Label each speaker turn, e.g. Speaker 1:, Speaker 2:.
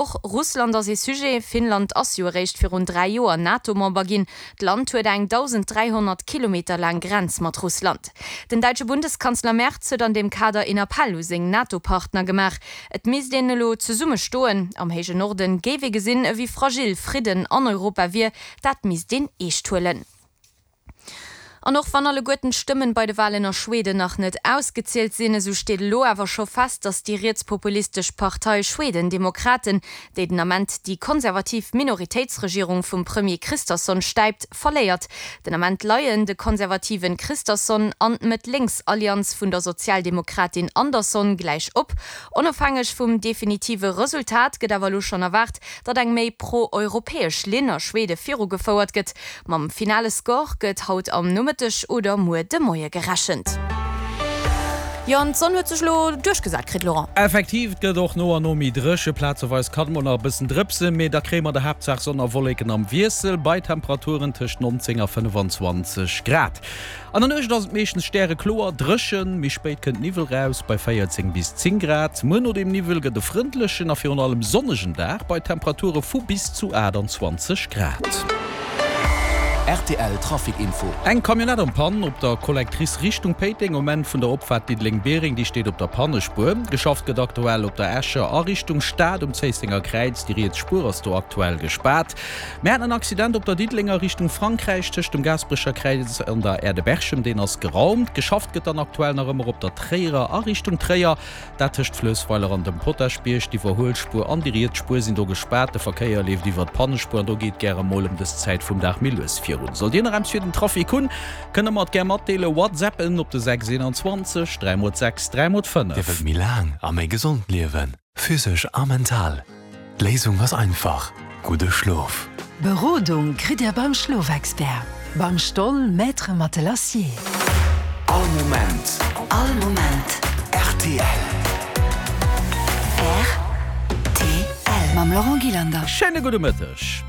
Speaker 1: Och Russland ass ee Sujet. Finnland ass jo eréischt virun 3 Joer NATO-Member ginn. D'Land huet eng 1.300 Kilometer laang Grenz mat Russland. Den däitsche Bundeskanzler Merz huet an deem Kader een Appell u seng NATO-Partner gemaach. Et misst een elo zesumme stoen. Am héije Norden géif ee gesinn, ewéi fragil Fridden an Europa wier. Dat misst een eescht huelen. An och wann alleguerten d'Stëmmen bei de Walen a Schweden nach net ausgezielt sinn, esou steet elo awer scho fest, datt déi rietspopulistesch Partei Schwedendemokraten, déi den Ament déi konservativ Minoritéitsregierung vum Premier Kristersson stäipt, verléiert. Den Ament leien de konservativen Kristersson an d'Mëtt-Lénks-Allianz vun der Sozialdemokratin Andersson gläich op. Onofhängeg vum definitive Resultat gëtt awer elo schonn erwaart, datt eng méi pro-europäesch Linn a Schwede virugefouert gëtt. Mam finale Score gëtt haut am Nomëtteg oder muer de Moie gerechent. Jo, an d'Sonn huet sech elo duerchgesat kritt, Laurent.
Speaker 2: Effektiv, et gëtt och no an no méi dréche. Plazeweis kann et mol nach e bëssen drëpsen, mee da kréie mer der Haaptsaach Sonn a Wolleken am Wiessel bei Temperaturen tëscht 19 a 25 Grad. An der Nuecht ass et meeschtens stärekloer, dréchen, méi spéit kënnt Niwwel raus bei 14 bis 10 Grad. Muer no dem Niwwel gëtt e frëndlechen a virun allem sonnegen Dag bei Temperature vu bis zu 28 Grad.
Speaker 3: Rtl Trafic Info.
Speaker 2: Eng Camionnette en Panne op der Collectrice Richtung Péiteng um Enn vun der Opfaart Diddeleng-Biereng, déi steet op der Pannespuer. Geschafft gëtt aktuell op der Escher a Richtung Stad um Zéissenger Kräiz, déi riets Spuer ass do aktuell gespaart. Mir haten en Accident op der Diddelenger Richtung Frankräich tëscht dem Gaasperecher Kräiz an der Aire de Berchem. Deen ass geraumt. Geschafft gëtt dann aktuell nach ëmmer op der Tréierer a Richtung Tréier, dat tëscht Fluessweiler an dem Potaschbierg. D'Iwwerhuelspuer an déi riets Spuer sinn do gespaart. De Verkéier leeft iwwer d'Pannespuer an do geet gäre mol ëm dës Zäit vum Dag méi lues virun. Sollt Dir nach eppes fir den Trafic hunn, kënnt der mer et gär matdeelen. Whatsappen op de 6 21 3 mol 6 3 mol 5.
Speaker 3: Dir wëllt méi laang a méi gesond liewen? Physesch a mental. D'Léisung ass einfach, gudde Schlof.
Speaker 4: Berodung kritt Dir beim Schlofexpert, beim Stoll Maître Matelassier.
Speaker 3: All Moment.
Speaker 5: All Moment.
Speaker 3: Rtl.
Speaker 5: Rtl. Mam Laurent Gillander.
Speaker 2: Schéine gudde Mëtteg.